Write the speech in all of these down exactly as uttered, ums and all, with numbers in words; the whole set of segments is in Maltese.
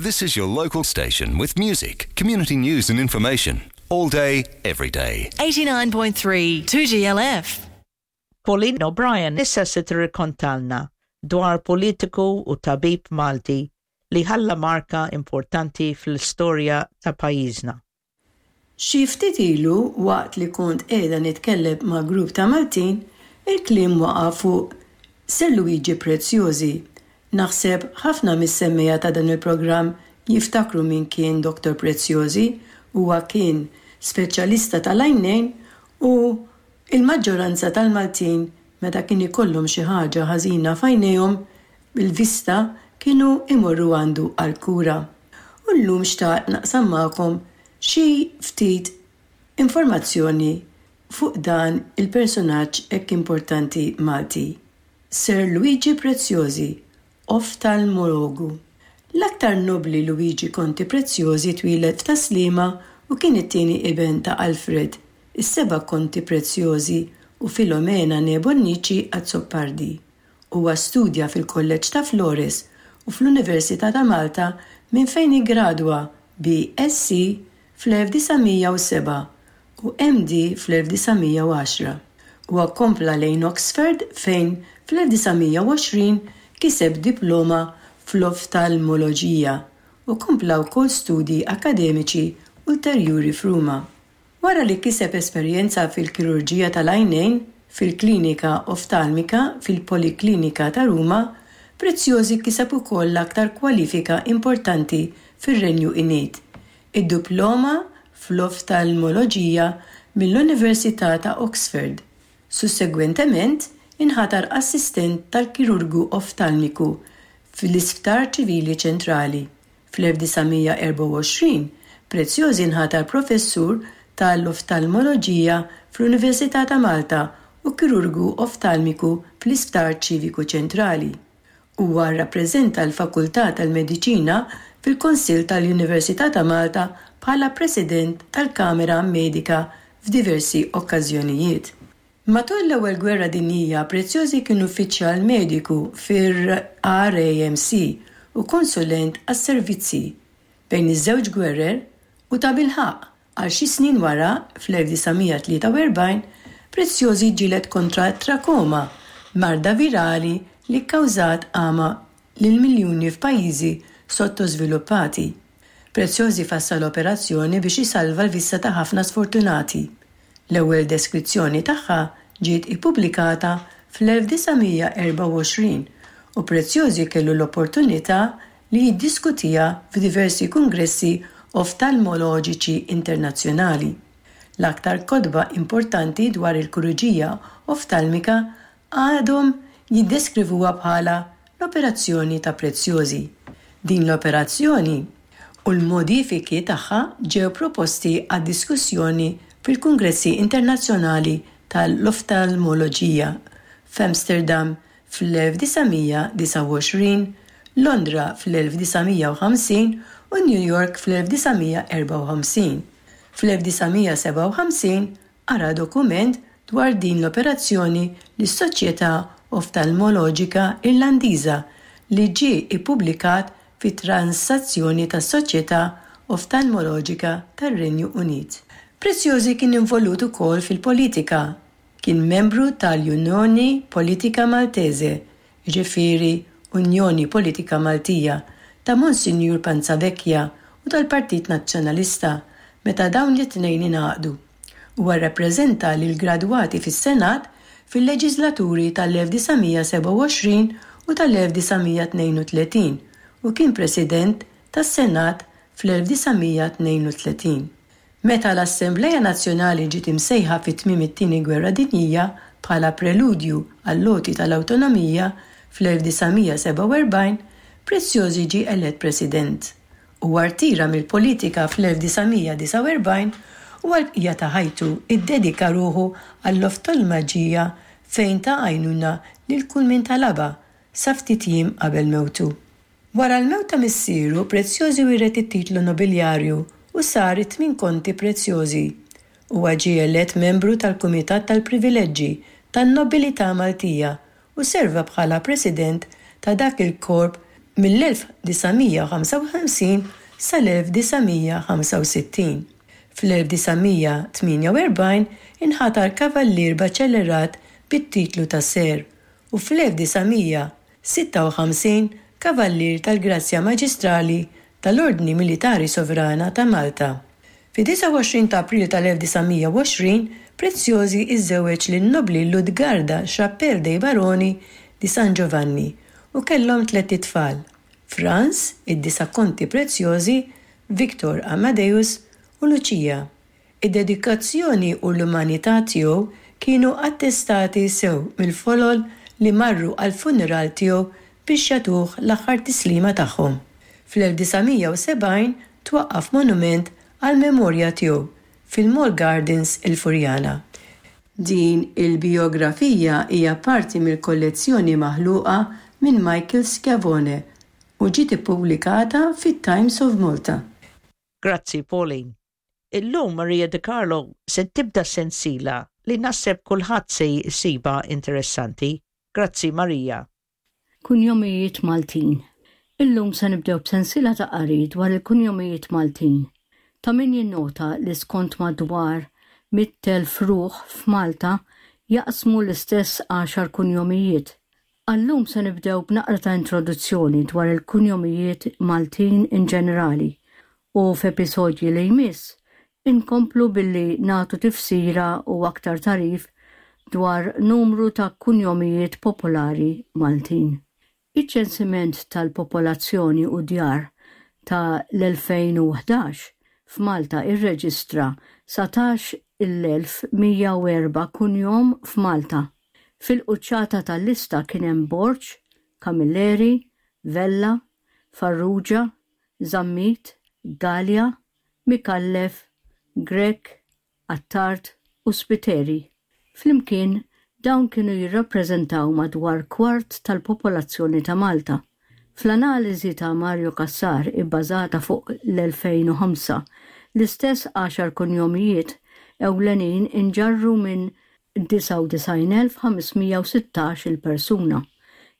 This is your local station with music, community news and information. All day, every day. eighty-nine point three two G L F. Pauline O'Brien issa se tirrikontalna dwar politiku u tabib Malti li ħalla marka importanti fl-istorja ta' pajjiżna. Xi ftit ilu, waqt li kont qiegħda nitkellem ma' grupp ta' Maltin, il-kliem waqa' fuq Sir Luigi Preziosi. Naħseb ħafna mis-semmiegħa ta' dan il-programm jiftakru min kien Doktor Preziosi. Huwa kien speċjalista tal-għajnejn u il-maġġoranza tal-Maltin, meta kien ikollhom xi ħaġa ħażina f'għajnejhom bil-vista, kienu imorru għandu għal-kura. U llum xtaqt naqsam magħkom xi ftit informazzjoni fuq dan il-personaġġ hekk importanti Malti. Sir Luigi Preziosi, oftalmologu. L-aktar nobli Luigi Conti Preziosi twieled f'Tas-Sliema u kien it-tieni iben ta' Alfred, is-seba' Konti Preziosi, u Filomena née Bonnici Azzopardi. Huwa studja fil-Kolleġġ ta' Flores u fl-Università ta' Malta, minn fejn iggradwa B S C fl-elf disa' mija u sebgħa u M D fl-elf disa' mija u għaxra. Huwa kompla lejn Oxford, fejn fl-elf disa' mija u għoxrin kiseb diploma fl-oftalmoloġija u kompla wkoll studi akademiċi ulterjuri f'Ruma. Wara li kiseb esperjenza fil-kirurġija tal-għajnejn fil-klinika oftalmika fil-Poliklinika ta' Ruma, Preziosi kiseb ukoll l-aktar kwalifika importanti fir-Renju Unit, id-diploma fl-oftalmoloġija mill-Università ta' Oxford. Sussegwentement, inħatar assistent tal-kirurgu oftalmiku fl-Isptar Ċivili Ċentrali. Fl-elf disa' mija u erbgħa u għoxrin, Preziosi nħatar professur tal-oftalmoloġija fl-Università ta' Malta u kirurgu oftalmiku fl-Isptar Ċiviku Ċentrali. Huwa rrappreżenta l-Fakultà tal-Mediċina fil-Kunsill tal-Università ta' Malta bħala President tal-Kamera Medika f'diversi okkażjonijiet. Matul l-Ewwel Gwerra Dinjija, Preziosi kien uffiċjal mediku fir-R A M C u konsulent għas-servizzi bejn iż-żewġ gwerer u, tabilħaqq, għal xi snin wara, fl-elf disa' mija u tlieta u erbgħin, Preziosi ġġieled kontra trakoma, marda virali li kkawżat għama lil miljuni f'pajjiżi sottosviluppati. Preziosi fassal operazzjoni biex isalva l-vista ta' ħafna sfortunati. L-ewwel deskrizzjoni tagħha ġiet ippubblikata fl-elf disa' mija u erbgħa u għoxrin u Preziosi kellu l-opportunità li jiddiskutiha f'diversi kongressi oftalmoloġiċi internazzjonali. L-aktar kotba importanti dwar il-kirurġija oftalmika għadhom jiddeskrivuha bħala l-operazzjoni ta' Preziosi. Din l-operazzjoni u l-modifiki tagħha ġew proposti għad diskussjoni fil-Kongressi Internazzjonali tal-Oftalmoloġija f'Amsterdam fl-elf disa' mija u disgħa u għoxrin, Londra fl-elf disa' mija u ħamsin u New York fl-elf disa' mija u erbgħa u ħamsin. Fl-elf disa' mija u sebgħa u ħamsin qara dokument dwar din l-operazzjoni lis-Soċjetà Oftalmoloġika Irlandiża, li ġie ippubblikat fi transazzjoni tas-Soċjetà Oftalmoloġika tar-Renju Unit. Preziosi kien involut ukoll fil-politika. Kien membru tal-Unjoni Politika Maltese, jiġifieri Unjoni Politika Maltija, ta' Monsinjur Panzavecchia, u tal-Partit Nazzjonalista meta dawn it-tnejn ingħaqdu. Huwa rrappreżenta lil gradwati fis-Senat fil-leġislaturi tal-elf disa' mija u sebgħa u għoxrin u tal-elf disa' mija u tnejn u tletin u kien President tas-Senat fl-elf disa' mija u tnejn u tletin. Meta l-Assembleja Nazzjonali ġiet imsejħa fit tmiem it-Tieni Gwerra Dinjija bħala preludju għall-għoti tal-awtonomija fl-elf disa' mija u sebgħa u erbgħin, Preziosi ġie elett President. Huwa rtira mill-politika fl-elf disa' mija u disgħa u erbgħin u għal-bqija ta' ħajtu iddedika ruħu għall-oftalmoloġija, fejn ta għajnuna lil kull min talabha sa ftit jiem qabel mewtu. Wara l-mewt ta' missieru, Preziosi wiret it-titlu nobiljarju u sar it-tmin Konti Preziosi. Huwa ġie elett membru tal-Kumitat tal-Privileġġi tan-Nobilità Maltija u serva bħala President ta' dak il-korp mill-elf disa' mija ħamsa u ħamsin sal-elf disa' mija ħamsa u sittin. Fl-elf disa' mija tmienja u erbgħin inħatar kavallier baċellerat bit-titlu ta' Ser u fl-elf disa' mija sitta u ħamsin kavallier tal-Grazzja Maġistrali tal-Ordni Militari Sovrana ta' Malta. Fi disgħa u għoxrin ta' April tal-elf disa' mija u għoxrin, Preziosi iżżewweġ lin-nobli Ludgarda Chappell dei Baroni di San Giovanni u kellhom tlett itfal, Franz, id-disa' Konti Preziosi, Victor Amadeus u Lucia. Id-dedikazzjoni u l-umanità tiegħu kienu attestati sew mill-folol li marru għall-funeral tiegħu biex jagħtuh l-aħħar tislima tagħhom. Fl-elf disa' mija u sebgħin twaqqaf monument għall-memorja tiegħu fil-Mall Gardens il-Furjana. Din il-biografija hija parti mill-kollezzjoni maħluqa minn Michael Schiavone u ġiet ippubblikata fit-Times of Malta. Grazzi, Pauline. Illum Maria De Carlo se tibda sensila li naħseb kulħadd se jsibha interessanti. Grazzi, Maria. Kunjomijiet Maltin. Illum se nibdew b'sensila ta' qari dwar il-kunjomijiet Maltin. Ta' min jinnota li skont madwar mitt elf ruħ f'Malta jaqsmu l-istess għaxar kunjomijiet. Għallum se nibdew b'naqra ta' introduzzjoni dwar il-kunjomijiet Maltin in ġenerali u f'episodji li jmiss inkomplu billi nagħtu tifsira u aktar tarif dwar numru ta' kunjomijiet popolari Maltin. Iċ-ċensiment tal-popolazzjoni u djar ta' l-elfejn u ħdax f'Malta irreġistra satax il-elf mija u erba' kunjom f'Malta. Fil-quċċata tal-lista kien hemm Borg, Camilleri, Vella, Farrugia, Zammit, Galea, Micallef, Grech, Attard u Spiteri. Flimkien dawn kienu jirrappreżentaw madwar kwart tal-popolazzjoni ta' Malta. Fl-analiżi ta' Mario Cassar ibbażata fuq l-elfejn u ħamsa, l-istess għaxar kunjomijiet ewlenin inġarru minn disgħa u disgħin elf ħames mija u sittax il-persuna,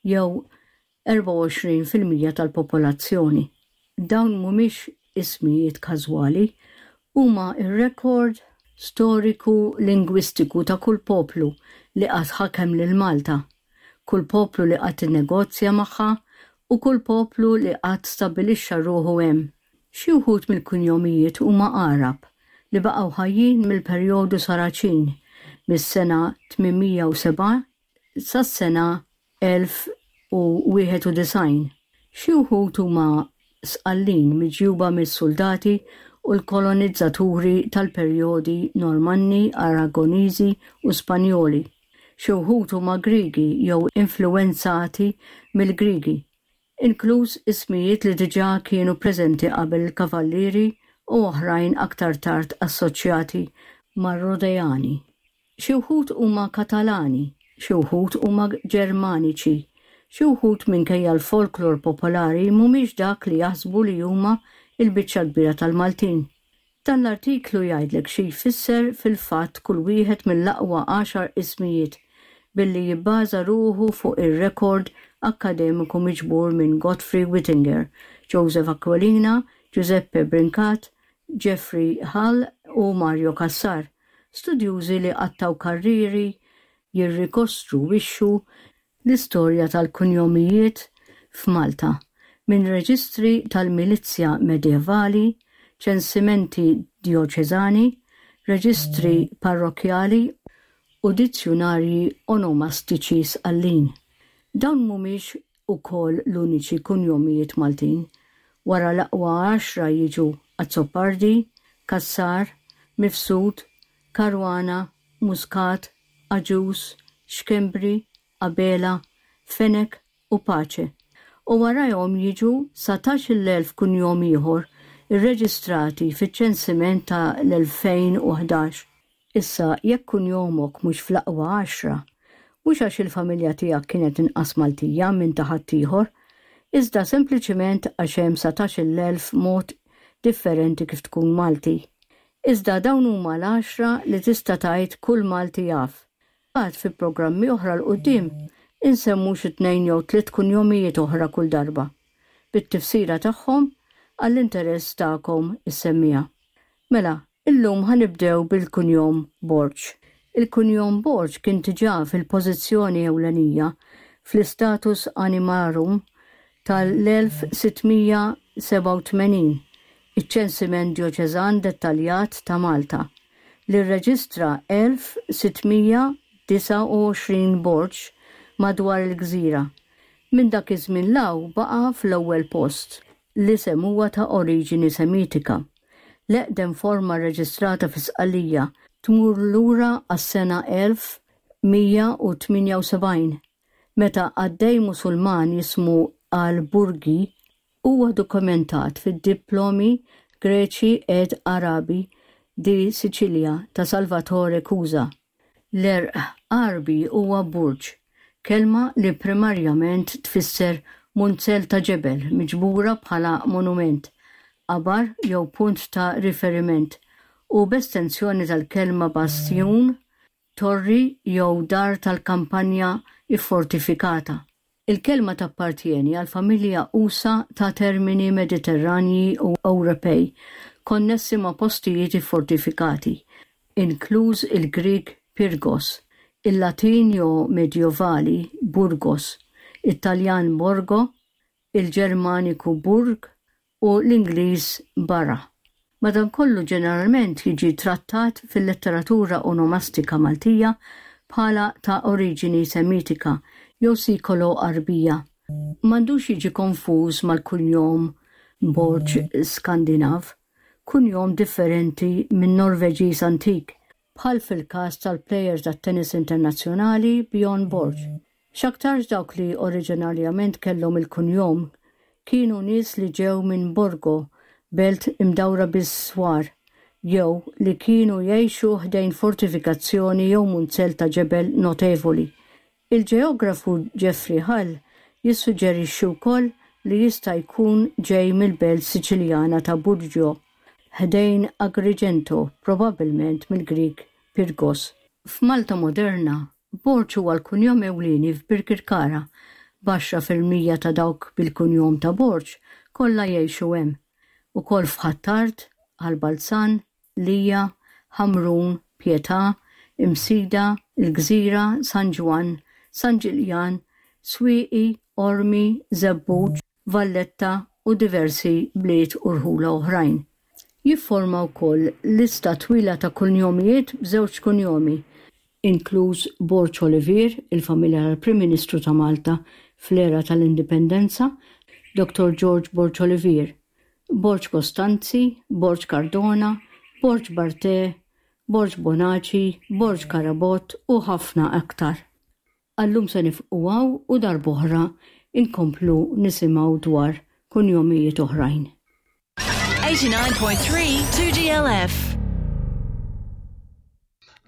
jew erbgħa u għoxrin fil-mija tal-popolazzjoni. Dawn mhumiex ismijiet każwali, huma r-rekord storiku lingwistiku ta' kull poplu li qatt ħakem lil Malta, kull poplu li qatt innegozja magħha u kull poplu li qatt stabbilixxa ruħu hemm. Xi wħud mill-kunjomijiet huma Għarab li baqgħu ħajjin mill-perjodu Saraċin mis-sena tmien mija u sebgħa sas-sena elf u wieħed u disgħin. Xi wħud huma Sqallin miġjuba mis-soldati u l-kolonizzaturi tal-perjodi Normanni, Aragoniżi u Spanjoli. Xi wħud huma Griegi jew influwenzati mill-Griegi, inkluż ismijiet li diġà kienu preżenti qabel il-Kavallieri u oħrajn aktar tard assoċjati mar-Rodejani. Xi wħud huma Katalani, xi wħud huma Ġermaniċi, xi wħud minkejja l-folklor popolari mhumiex dak li jaħsbu li huma il-biċċa kbira tal-Maltin. Dan l-artiklu jgħidlek xi jfisser fil-fatt kull wieħed mill-aqwa għaxar ismijiet billi jibbaża ruħu fuq ir-rekord akkademiku miġbur minn Godfrey Wittinger, Joseph Aquilina, Giuseppe Brincat, Jeffrey Hull u Mario Cassar, studjużi li qattaw karriri jirrikostruwixxu l-istorja tal-kunjomijiet f'Malta minn reġistri tal-milizja medjevali, ċensimenti dioċeżani, reġistri parrokjali u dizzjunarji onomastiċi Sqallin. Dawn mhumiex ukoll l-uniċi kunjomijiet Maltin. Wara l-aqwa għaxra jiġu Azzopardi, Cassar, Mifsud, Caruana, Muscat, Agius, Schembri, Abela, Fenech u Pace. U warajhom jiġu satax il-elf kunjom ieħor irreġistrati fiċ-ċensiment ta' l-elfejn u ħdax. Issa, jekk kunjomok mhux fl-aqwa għaxra, mhux għax il-familja tiegħek kienet inqas Maltija minn ta' ħaddieħor, iżda sempliċiment għax hemm satax il-elf mod differenti kif tkun Malti. Iżda dawn huma l-għaxra li tista' tgħid kull Malti jaf. Għad fi programmi oħra l quddiem insemmu xi tnejn jew tliet kunjomijiet oħra kull darba. bit-tifsira tagħhom għall-interess tagħkom is-semmiegħa. Mela, illum ħa nibdew bil-kunjom Borg. Il-kunjom Borg kien diġà fil-pożizzjoni ewlenija fl-Status Animarum tal-elf sitt mija sebgħa u tmenin, iċ-ċensiment djoċeżan dettaljat ta' Malta, li rreġistra elf sitt mija disgħa u għoxrin Borg madwar il-gżira. Minn dak iż-żmien 'l hawn baqa' fl-ewwel post. L-isem huwa ta' oriġini Semitika. L-eqdem forma rreġistrata fi Sqallija tmur lura għas-sena elf mija u tmienja u sebgħin, meta qaddej Musulman jismu Al-Burgi huwa dokumentat fid-diplomi Greci ed Arabi di Sicilia ta' Salvatore Cusa. L-għerq Għarbi huwa burġ, kelma li primarjament tfisser munzell ta' ġebel miġbura bħala monument, qabar jew punt ta' riferiment, u b'estensjoni tal-kelma bastjun, torri jew dar tal-kampanja iffortifikata. Il-kelma tappartieni għal familja usa' ta' termini Mediterranji u Ewropej konnessi ma' postijiet iffortifikati, inkluż il-Grieg Pyrgos, il-Latin jew Medjovali Burgos, it-Taljan Borgo, il-Ġermaniku Burg u l-Ingliż Borough. Madankollu, ġeneralment jiġi trattat fil-letteratura onomastika Maltija bħala ta' oriġini Semitika jew Sikolo-Għarbija. M'għandux jiġi konfuż mal-kunjom Borg Skandinav, kunjom differenti minn Norveġiż antik, bħal fil-każ tal-plejer tat-tennis internazzjonali Bjorn Borg. X'aktarx dawk li oriġinarjament kellhom il-kunjom kienu nies li ġew minn Borgo, belt imdawra bis-swar, jew li kienu jgħixu ħdejn fortifikazzjoni jew munzell ta' ġebel notevoli. Il-ġeografu Jeffrey Hall jissuġġerixxi wkoll li jista' jkun ġej mill-belt Siċiljana ta' Burgio, ħdejn Agrigento, probabbilment mill-Grieg Pyrgos. F'Malta moderna, Borg huwa l-kunjom ewlieni f'Birkirkara, b'għaxra fil-mija ta' dawk bil-kunjom ta' Borg kollha jgħixu hemm. Ukoll f'Ħ'Attard, Ħal Balzan, Lija, Ħamrun, Pietà, Imsida, il-Gżira, San Ġwann, San Ġiljan, Swieqi, Qormi, Żebbuġ, Valletta u diversi bliet u rħula oħrajn. Jifforma wkoll lista twila ta' kunjomijiet b'żewġ kunjomi, inkluż Borg Olivier, il-familja tal-Prim Ministru ta' Malta fl-era tal-Indipendenza, Doctor George Borg Olivier, Borg Costanzi, Borg Cardona, Borg Barte, Borg Bonaci, Borg Carabott u ħafna aktar. Għal-lum se nieqfu hawn u darb'oħra inkomplu nisimgħu dwar kunjomijiet oħrajn. eighty-nine point three two G L F.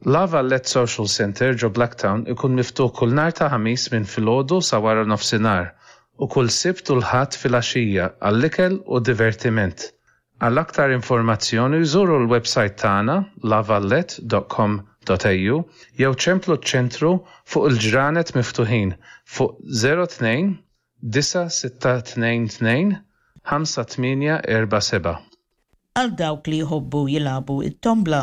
La Valette Social Center ġo Blacktown ikun miftuħ kull nhar ta' Ħamis minn filgħodu sa wara nofsinhar u kull Sibt u l-Ħadd filgħaxija għall-ikel u divertiment. Għal aktar informazzjoni żuru l-website tagħna lavalette dot com dot A U jew ċemplu ċ-ċentru fuq il-ġranet miftuħin fuq zero tnejn disa' sitta tnejn tnejn ħamsa tmienja erba' seba'. Għal dawk li jħobbu jilagħbu it-tombla,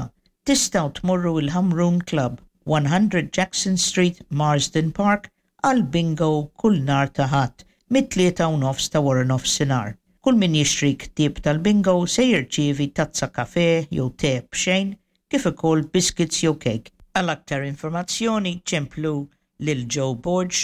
tistgħu tmorru il-Ħamrun Club, one hundred Jackson Street, Marsden Park, għal bingo kull nhar ta' Ħadd mit-tlieta u nofs ta' wara nofsinhar. Kull min jixtri ktieb tal-bingo se jirċievi tazza kafe jew te b'xejn, kif ukoll biscuits jew cake. Għal aktar informazzjoni ċemplu lil Joe Borg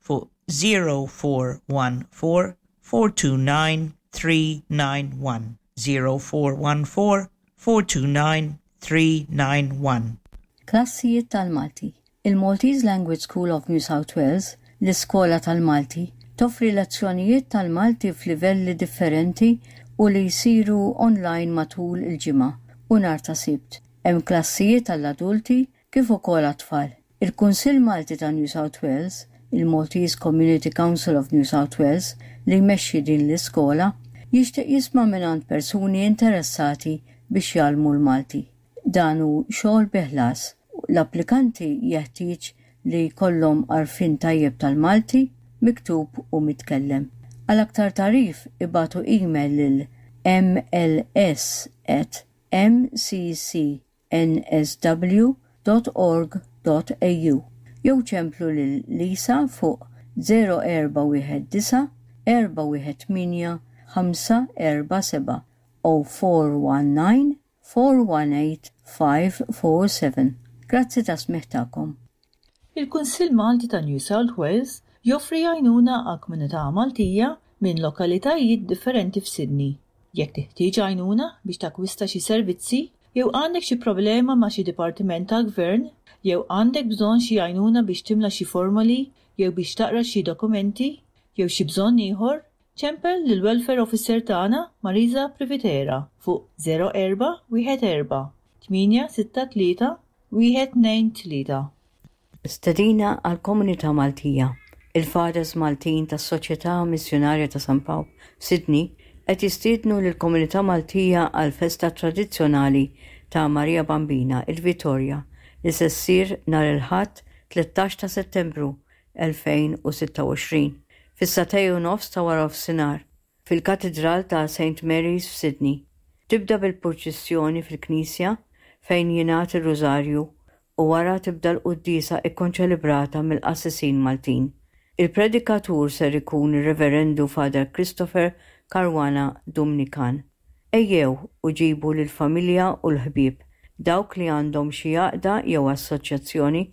fuq zero four one four four two nine three nine one, zero four one four four two nine three nine one. Klassijiet tal-Malti. Il-Maltese Language School of New South Wales, l-Iskola tal-Malti, toffri lezzjonijiet tal-Malti f'livelli differenti u li jsiru online matul il-ġimgħa u nhar ta' Sibt. Hemm klassijiet tal-adulti kif ukoll għat-tfal. Il-Kunsill Malti ta' New South Wales, il-Maltese Community Council of New South Wales, li jmexxi din l-iskola, jixtieq jisma' mingħand persuni interessati biex jgħallmu l-Malti. Dan hu xogħol bi ħlas. L-applikanti jeħtieġ li jkollhom għarfien tajjeb tal-Malti, miktub u mitkellem. Għal aktar tagħrif ibagħtu email lil mls at mccnsw.org.au jew ċemplu lil Lisa fuq zero erba' wieħed disa' erba' wieħed tmienja ħamsa erba' seba', zero four one nine four one eight five four seven. Grazzi tas-smigħ tagħkom. Il-Kunsill Malti ta' New South Wales joffri għajnuna għal komunità Maltija minn lokalitajiet differenti f'Sydney. Jekk teħtieġ għajnuna biex takwista xi servizzi, jew għandek xi problema ma' xi dipartiment tal-gvern, jew għandek bżonn xi għajnuna biex timla xi formoli, jew biex taqra xi dokumenti, jew xi bżonn ieħor, ċempel lil Welfare Officer tagħna Marisa Privitera fuq zero erba' wieħed erba' tmienja sitta tlieta wieħed tnejn tlieta. Stedina għal komunità Maltija. Il-Fathers Maltin tas-Soċjetà Missjonarja ta' San Pawl Sydney qed jistiednu lill-komunità Maltija għal festa tradizzjonali ta' Maria Bambina, il-Vitorja, li se ssir nhar il-Ħadd tlettax ta' Settembru elfejn u sitta u għoxrin fis-sagħtejn u nofs ta' wara nofsinhar fil-Katidral ta' Saint Mary's f'Sydney. Tibda bil-purċissjoni fil-Knisja fejn jingħad ir-Rużarju u wara tibda l-quddiesa ikkonċelebrata mill-qassisin Maltin. Il-predikatur ser ikun ir-Reverendu Father Christopher Caruana Dumnikan. Ejjew u ġibu lill-familja u l-ħbieb. Dawk li għandhom xi għaqda jew assoċjazzjoni,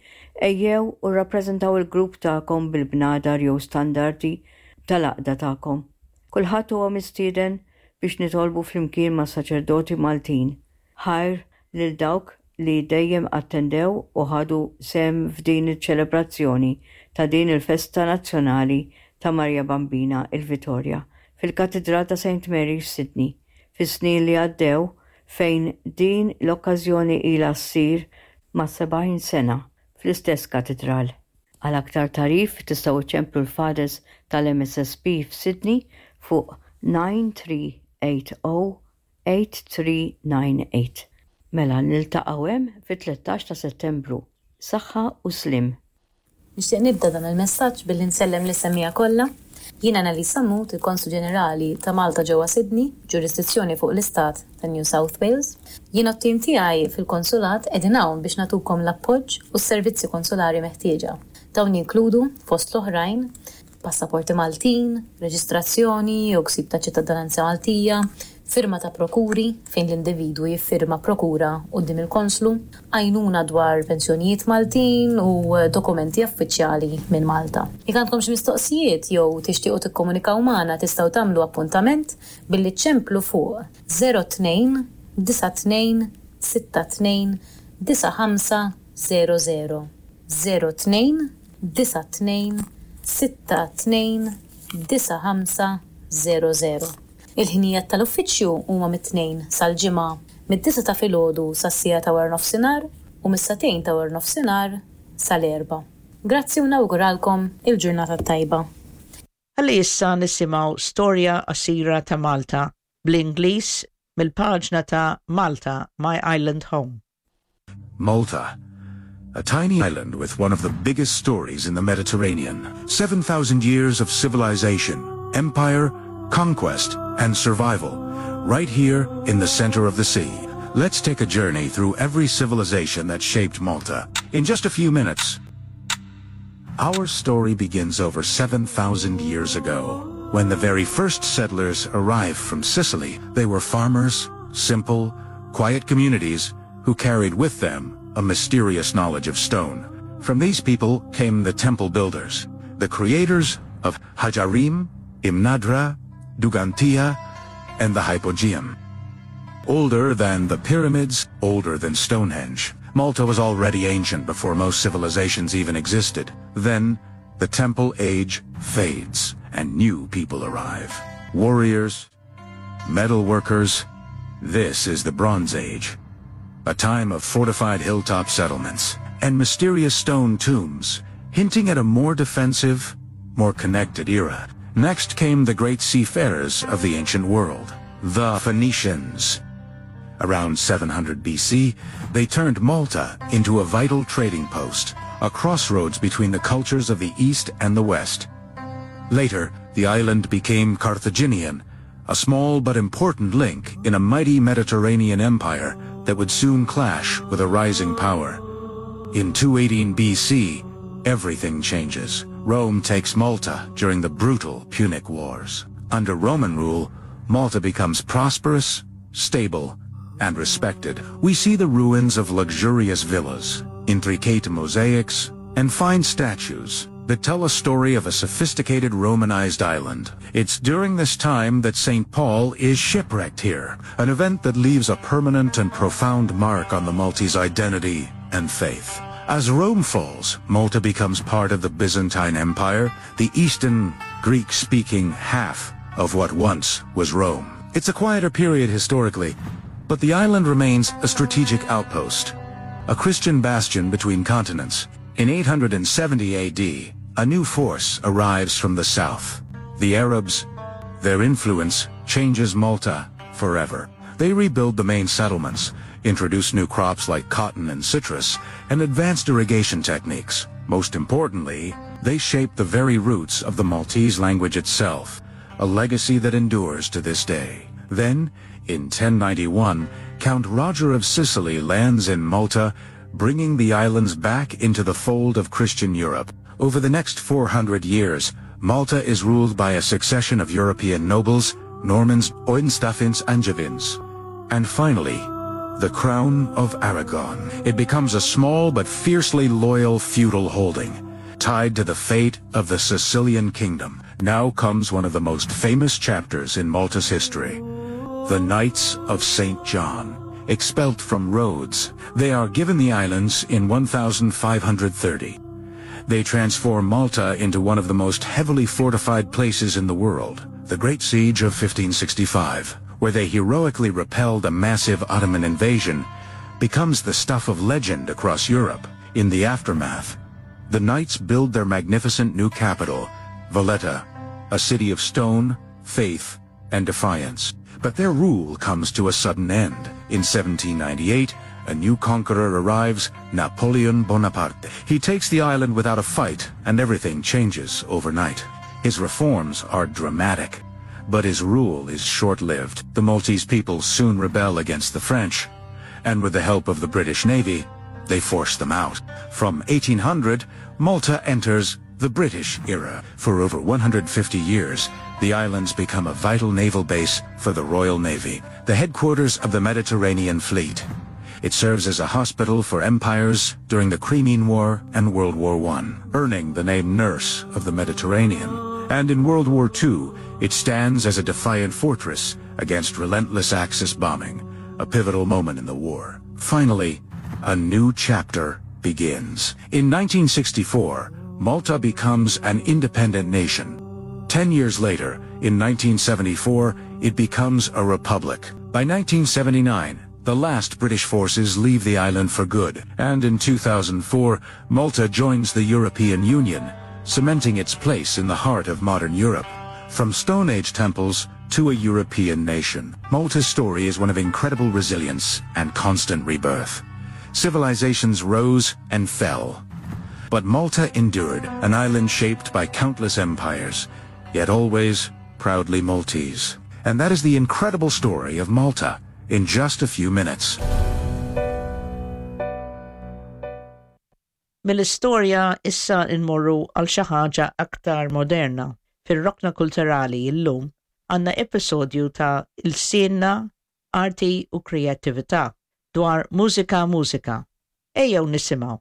ejjew u rappreżentaw il-grupp tagħkom bil-bnadar jew standardi tal-għaqda tagħkom. Kulħadd huwa mistieden biex nitolbu flimkien ma' saċerdoti Maltin. Ħajr lil dawk li dejjem attendew u ħadu sehem f'din iċ-ċelebrazzjoni ta' din il-festa nazzjonali ta' Maria Bambina, il-Vitorja, fil-Katidral ta' Saint Mary f'Sydney fis-snin li għaddew, fejn din l-okkażjoni ilha ssir ma' sebgħin sena fl-istess katidral. Għal aktar tagħrif tistgħu ċemplu l-Fathers tal-M S S P f'Sydney fuq nine three eight zero eight three nine eight. Mela niltaqgħu hemm fit-tlettax ta' Settembru. Saħħa u sliem. Nixtieq nibda dan il-messaġġ billi nsellem lis-semmiegħa kollha. Jiena Annalisa Mut, il-Konsul Ġenerali ta' Malta ġewwa Sydney, ġurisdizzjoni fuq l-Istat ta' New South Wales. Jiena t-tim tiegħi fil-konsulat qegħdin hawn biex nagħtukom l-appoġġ u s-servizzi konsulari meħtieġa. Dawn jinkludu, fost l-oħrajn, passaporti Maltin, reġistrazzjoni jew ksib ta' ċittadinanza Maltija, firma ta' prokuri fejn l-individwu jiffirma prokura quddiem il-konslu, għajnuna dwar pensjonijiet Maltin u dokumenti uffiċjali minn Malta. Jekk għandkom xi mistoqsijiet jew tixtiequ tikkomunikaw magħna, tistgħu tagħmlu appuntament billi ċemplu fuq zero tnejn disa' tnejn sitta tnejn disa' ħamsa zero zero, zero tnejn disa' tnejn sitta tnejn disa' ħamsa zero zero. Il-ħinijiet tal-uffiċċju huma mit-Tnejn sal-Ġimgħa mid-disgħa ta' filgħodu sas-siegħa ta' wara nofsinhar u mis-sagħtejn ta' wara nofsinhar sal-erba'. Grazzi u nawguralkom il-ġurnata tajba. Ħalli issa nisimgħu storja qasira ta' Malta bl-Ingliż mill-paġna ta' Malta, My Island Home. Malta, a tiny island with one of the biggest stories in the Mediterranean. seven thousand years of civilization, empire, conquest, and survival, right here in the center of the sea. Let's take a journey through every civilization that shaped Malta. In just a few minutes. Our story begins over seven thousand years ago, when the very first settlers arrived from Sicily. They were farmers, simple, quiet communities who carried with them a mysterious knowledge of stone. From these people came the temple builders, the creators of Ħaġar Qim, Imnadrah, Ġgantija, and the Hypogeum. Older than the pyramids, older than Stonehenge. Malta was already ancient before most civilizations even existed. Then, the temple age fades, and new people arrive. Warriors, metal workers. This is the Bronze Age, a time of fortified hilltop settlements and mysterious stone tombs, hinting at a more defensive, more connected era. Next came the great seafarers of the ancient world, the Phoenicians. Around seven hundred B C, they turned Malta into a vital trading post, a crossroads between the cultures of the East and the West. Later, The island became Carthaginian, a small but important link in a mighty Mediterranean empire that would soon clash with a rising power. In two eighteen B C, everything changes. Rome takes Malta during the brutal Punic Wars. Under Roman rule, Malta becomes prosperous, stable, and respected. We see the ruins of luxurious villas, intricate mosaics, and fine statues that tell a story of a sophisticated Romanized island. It's during this time that Saint Paul is shipwrecked here, an event that leaves a permanent and profound mark on the Maltese identity and faith. As Rome falls, Malta becomes part of the Byzantine Empire, the Eastern Greek-speaking half of what once was Rome. It's a quieter period historically, but the island remains a strategic outpost, a Christian bastion between continents. In eight hundred seventy A D, a new force arrives from the south. The Arabs. Their influence changes Malta forever. They rebuild the main settlements, introduce new crops like cotton and citrus, and advanced irrigation techniques. Most importantly, they shape the very roots of the Maltese language itself, a legacy that endures to this day. Then, in ten ninety-one, Count Roger of Sicily lands in Malta, bringing the islands back into the fold of Christian Europe. Over the next four hundred years, Malta is ruled by a succession of European nobles, Normans, Oinstafins, Angevins, and finally, the Crown of Aragon. It becomes a small but fiercely loyal feudal holding, tied to the fate of the Sicilian kingdom. Now comes one of the most famous chapters in Malta's history, the Knights of Saint John. Expelled from Rhodes, they are given the islands in fifteen thirty. They transform Malta into one of the most heavily fortified places in the world. The Great Siege of fifteen sixty-five, where they heroically repelled a massive Ottoman invasion, becomes the stuff of legend across Europe. In the aftermath, the Knights build their magnificent new capital, Valletta, a city of stone, faith, and defiance. But their rule comes to a sudden end. In seventeen ninety-eight, a new conqueror arrives, Napoleon Bonaparte. He takes the island without a fight, and everything changes overnight. His reforms are dramatic, but his rule is short-lived. The Maltese people soon rebel against the French, and with the help of the British Navy, they force them out. From eighteen hundred, Malta enters the British era. For over one hundred fifty years, the islands become a vital naval base for the Royal Navy, the headquarters of the Mediterranean Fleet. It serves as a hospital for empires during the Crimean War and World War One, earning the name Nurse of the Mediterranean. And in World War Two, it stands as a defiant fortress against relentless Axis bombing, a pivotal moment in the war. Finally, a new chapter begins. In nineteen sixty-four, Malta becomes an independent nation. Ten years later, in nineteen seventy-four, it becomes a republic. By nineteen seventy-nine, the last British forces leave the island for good, and in two thousand four, Malta joins the European Union, cementing its place in the heart of modern Europe. From Stone Age temples to a European nation, Malta's story is one of incredible resilience and constant rebirth. Civilizations rose and fell, but Malta endured, an island shaped by countless empires, yet always proudly Maltese. And that is the incredible story of Malta in just a few minutes. Mill-istorja issa nmorru għal xi ħaġa aktar moderna. Fir-rokna kulturali illum għandna episodju ta' Ilsienna, Arti u Kreattività dwar Mużika Mużika. Ejjew nisimgħu.